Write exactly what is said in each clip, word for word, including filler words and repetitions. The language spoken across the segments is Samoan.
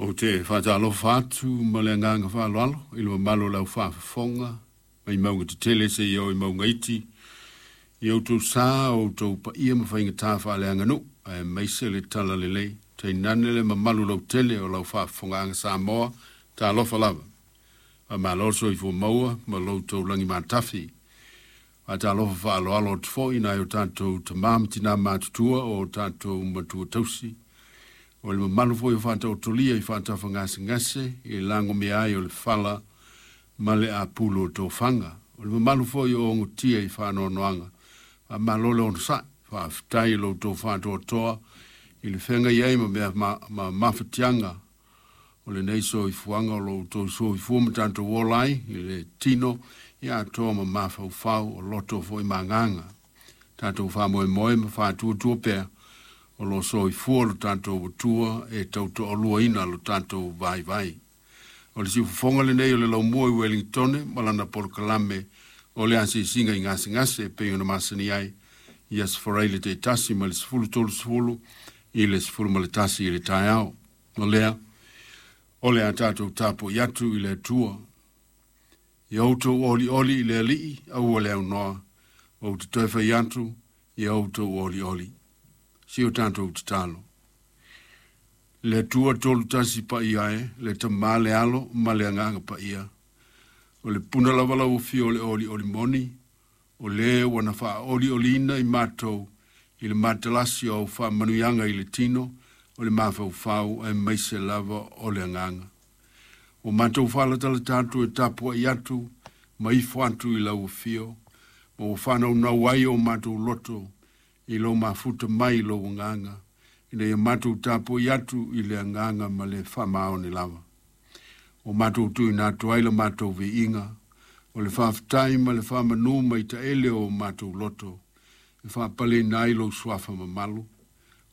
Ou te faatalofa atu ma le agaga faaaloalo i le mamalu o le aufaafofoga mai mauga tetele seia oo i mauga iti i outou sa o outou paia ma faigata faaleaganuu aemaise le talalelei tainane le mamalu lautele o lau faafofogaaga Samoa. Talofa lava, faamalo le soifua maua ma lo outou lagi matafi. Faatalofa faaaloalo atu foi i nai o tatou tamā ma tinā matutua o tatou matua tausi, o le mamalu foi o faataotolia i faatafagasegase i le lagomia ai o le fala ma le apulu o tofaga. O le mamalu foi o ogotia i faanoanoaga, faamalo le onosai, faafetai i lo outou faatoatoa i le feagai ai ma mea ma, ma mafatiaga o lenei soifuaga o lo outou soifua ma tatou ola ai i le tino ia atoa ma mafaufau o loto foi ma agaga. Tatou faamoemoe ma faatuatua pea o lo o soifua lo tatou Atua e tautoaluaina lo tatou vaivai. O le siufofoga lenei o le laumua i Uelintone ma lana polokalame o le asiasiga i gasegase e pei ona masani ai i Aso Faraile taitasi mai le sefulu tolusefulu i le sefulu ma le tasi i le taeao. O lea, o le a tatou tapuai atu i le Atua. Ia outou olioli i le Alii, aua le aunoa, ou te toe fai atu, ia outou olioli. Si o tatou tatalo. Le Atua tolu tasi paia e, le Tamā le Alo ma le Agaga Paia. O le puna lava lau afio o le olioli moni, o le ua na faaolioliina i matou i le matalasi o au faamanuiaga i le tino, o le mafaufau aemaise lava o le agaga. Ua matou faalatalata atu e tapuai atu ma ifo atu i lau afio, ma ua faanaunau ai o matou loto i lou mafuta mai i lou agaga, ina ia matou tapuai atu i le agaga ma le faamaoni lava. Ua matou tuuina atu ai la matou viiga, o le faafetai ma le faamanu mai taele o matou loto, e faapaleina ai lou suafa mamalu,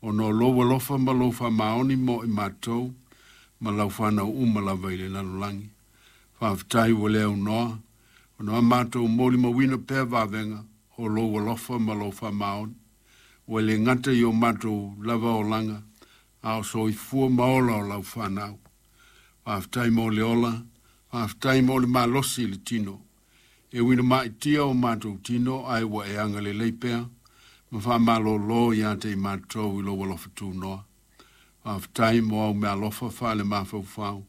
ona o lou alofa ma lou faamaoni mo i matou, ma lau fanau uma lava i le lalolagi. Faafetai ua le aunoa, ona a matou molimauina pea vavega o lou alofa ma lou faamaoni. Ua le gata i o matou lava olaga, a o soifua ma ola o lau fanau. Faafetai mo le ola, faafetai mo le malosi i le tino. E ui ina ma'itia o matou tino, ae ua e agalelei pea, ma faamalōlō ia te i matou i lou alofa tunoa. Faafetai mo au meaalofa faale-mafaufau,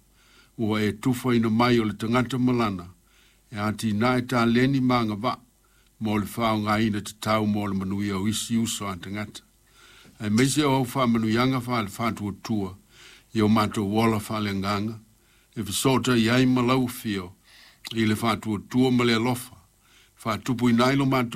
ua e tufaina mai o le tagata malana, e atinae taleni ma agavaa mo le faaaogaina tatau mo le manuia o isi uso a tagata. Aemaise o au faamanuiaga faale-faatuatua i o matou ola faaleagaga, e fesootaiai ma lau afio i le faatuatua ma le alofa, faatupuina ai lo matou